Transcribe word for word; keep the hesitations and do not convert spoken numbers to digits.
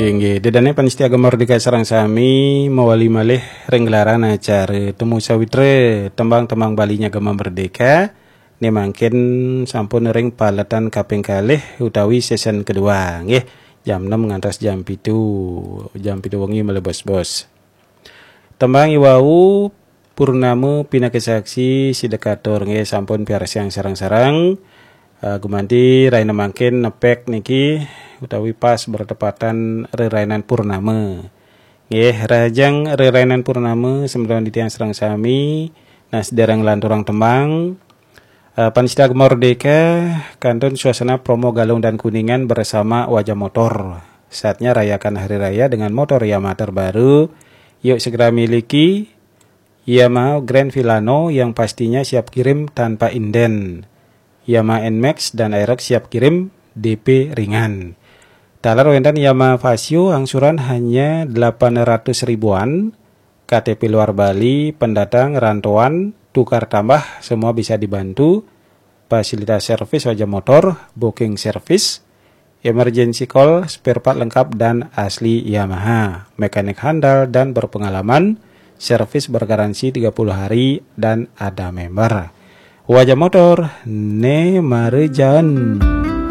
Inggih, dedane panitia Gema Merdeka sareng sami mawali malih ring gelaran acara Temu Sawitra, tembang-tembang Balinya Gema Merdeka. Nih mangkin sampun ring paletan kaping kalih utawi season kedua, nggih. Jam enam ngantos jam pitu, jam pitu wengi malih bos-bos. Tembang iwau Purnama pinaka saksi sida katur nggih sampun piarsang sareng-sareng. Eh, gumanti rahina mangkin nepek niki utawi pas bertepatan rerainan purnama. Nggih, rahajeng rerainan purnama semeton titiang sareng sami. Nah, sedereng lanturang tembang, eh, panitia Gema Merdeka, kantun suasana promo Galung dan Kuningan bersama Wajah Motor. Saatnya rayakan hari raya dengan motor Yamaha terbaru. Yuk segera miliki Yamaha Grand Filano yang pastinya siap kirim tanpa inden. Yamaha Nmax dan Aerox siap kirim D P ringan. Taler wenten Yamaha Fazzio angsuran hanya delapan ratus ribuan, K T P luar Bali, pendatang, rantauan, tukar tambah, semua bisa dibantu. Fasilitas servis Wajah Motor, booking service, emergency call, spare part lengkap dan asli Yamaha. Mekanik handal dan berpengalaman, servis bergaransi tiga puluh hari dan ada member. Wajah Motor, ne mara jan.